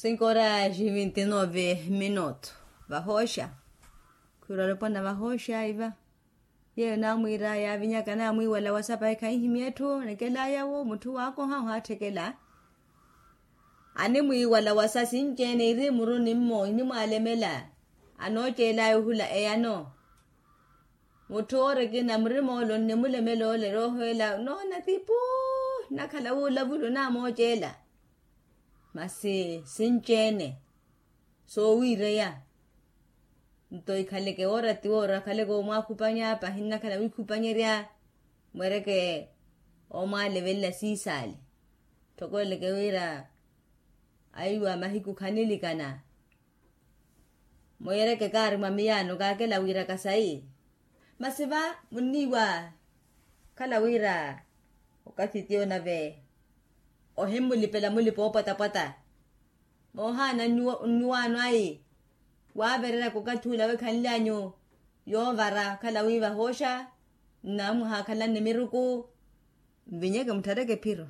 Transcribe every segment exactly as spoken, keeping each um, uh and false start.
Cinco horas e vinte e nove minuto. Vahooxa. Khwiira olopwana vahooxa iva. Yeeyo naamwiira yaavinyaka naamwiiwala wasa pahi khanhimya etthu anekelaya wo mutthu waakoha ohaatthekela. Animwiiwala wasa sinci-ene iri muru nimmo inimwaalemela. Anooceelaya ohula eyano. Mutthu oori ekina murima ole onnimulemela ole rooho ela noona ti puu. Nnakhala wuulavula onaamooceela. Masi sinci-ene soowiireya. Nto ikhaleke woora ti woora akhaleke omwaakhupanya pahi nnakhala wiikhupanyerya. Mweereke omwaalevelela siisaale. Tthoko eleke wira aiwa mahiku khanilikana. Mweereke kaari mwa miyaano kaakela wiiraka sayi. Masi va munniiwa khala wira okathi tiyo nave ohimmulipela mulipa oopwatapwata. Moohaana nnyuwaano ayi waavereryaka okathi ula wekhanlyanyu yoovara khala wi vahooxa nnamwahaakhalanne miruku. Nvinyeke mutthareke phiro.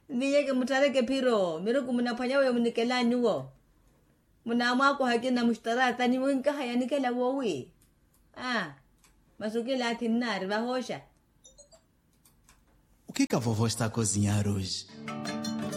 Nvinyeke mutthareke phiro miruku munaphwanya weyo munikela nyuwo. Munamwakoha akina muxtaraatani winkaha yanikela wowi. Aa. Masi okilaathi nnaari vahooxa. O que que a vovó está a cozinhar hoje?